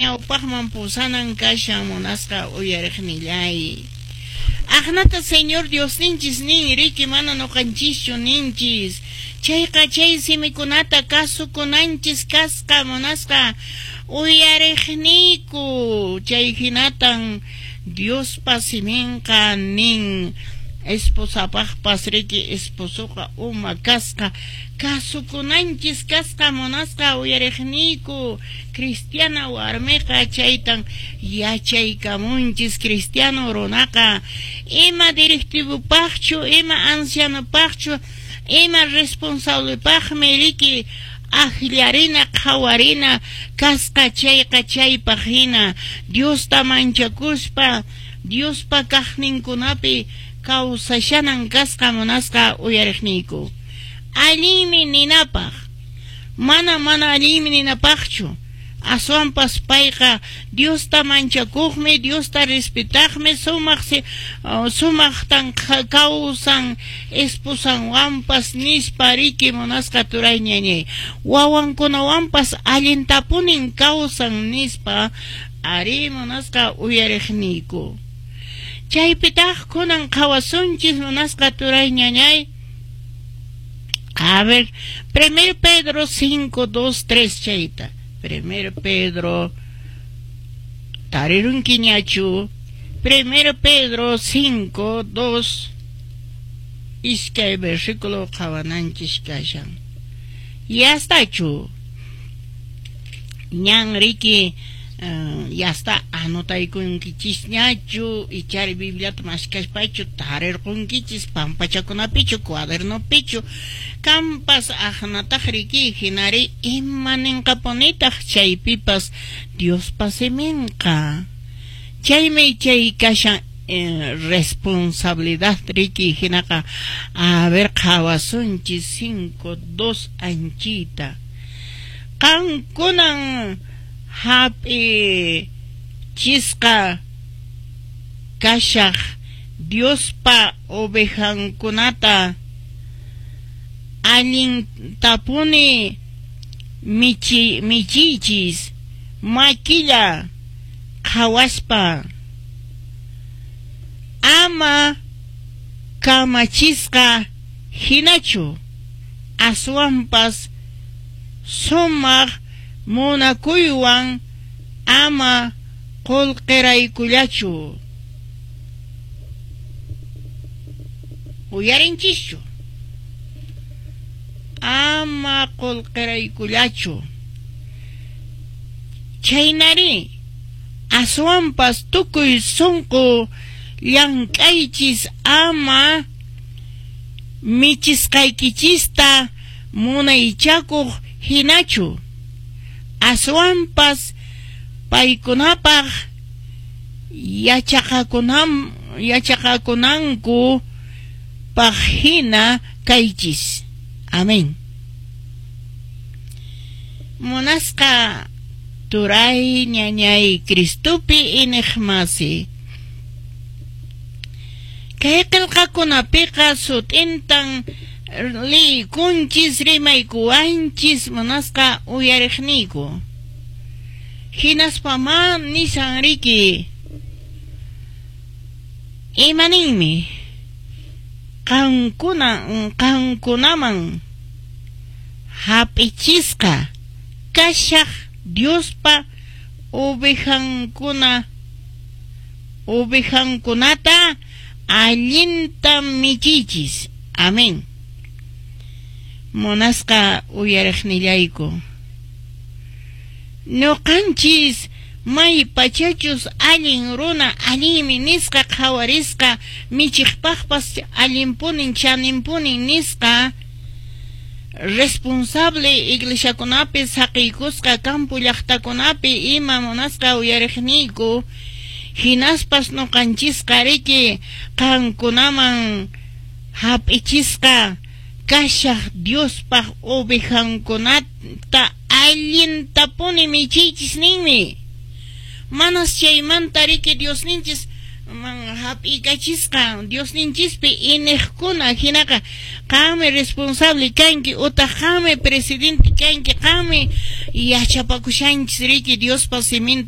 Ñawpaqman pusanan kashan munasqa uyariqnillay. Aqnata Señor Diosninchis nin, riki mana noqanchischu ninchis. Chayqa chay simikunata kasukunanchis kasqa munasqa uyariqniyku. Chay hinatan Diospa siminqa nin. Esposapaqpas riki esposoqa uma kasqa kasukunanchis kasqa munasqa uyariqniyku. Cristiana warmiqa chaytan yachaykamunchis. Cristiano runaqa ima directivopaqchu, ima ancianopaqchu, ima responsablepaqmi riki akllarina, qhawarina kasqa chayqa chaypaq hina Diosta manchakuspa Diospa kaqninkunapi kawsashanan kasqa munasqa uyariqniyku. Allinmi ninapaq, mana mana allinmi ninapaqchu, aswanpas payqa Diosta manchakuqmi, Diosta respetaqmi, sumaq sumaqtan kawsan esposanwanpas nispa riki munasqa turay ñañay. Wawankunawanpas allintapunin kawsan nispa arí munasqa uyariqniyku. Chaypitaq kunan qhawasunchis munasqa turay ñañay. A ver, 1 Pedro 5, 2, 3 chayta. 1 Pedro tarirunkiñachu. 1 Pedro 5, 2 iskay versículo qhawananchis kashan. Yastachu. Ñan riki yasta anotaykunkichisñachu ichari Bibliata maskaspachu tarirqunkichis pampachakunapichu cuadernopichu kampas aqnataq riki hinari ima ninqapunitaq chaypipas Diospa siminqa. Chaymi chay kashan responsabilidad riki hinaqa a ver qhawasunchis 5, 2 anchita. Qankunan hap'ichisqa kashaq Diospa ovejankunata allintapuni michiychis makilla qhawaspa, ama kamachisqa hinachu, aswanpas sumaq munakuywan ama qullqiraykullachu. Uyarinchischu. Ama qullqiraykullachu. Chaynari aswanpas tukuy sunqu llank'aychis ama michisqaykichista munaychakuq hinachu, aswanpas paykunapaq yachaqakunanku paq hina kaychis. Amén. Munasqa turay ñañay Cristopi iñiqmasi. Kay qillqakunapiqa sut'intan liykunchis rimaykuwanchis munasqa uyariqniyku. Hinaspa ma nishan riki imaninmi qankunaman hap'ichisqa kashaq Diospa ovejankunata allinta michiychis. Amén. Munasqa uyariqnillayku. Ñuqanchis may pachachus allin runa allinmi nisqa qhawarisqa michiqpaqpas allinpunin chaninpunin nisqa responsable iglesiakunapi saqiykusqa campo llaqtakunapi ima munasqa uyariqniyku hinaspas ñuqanchisqa riki qankunaman hap'ichisqa kashaq Diospaq ovejankunata allintapuni michiychis ninmi. Manas chaymanta riki Diosninchis man hap'ikachisqa Diosninchispi iniqkuna hinaqa qanmi responsable kanki utaq qanmi presidente kanki qanmi Yachapakushanchis riki Diospa siminta.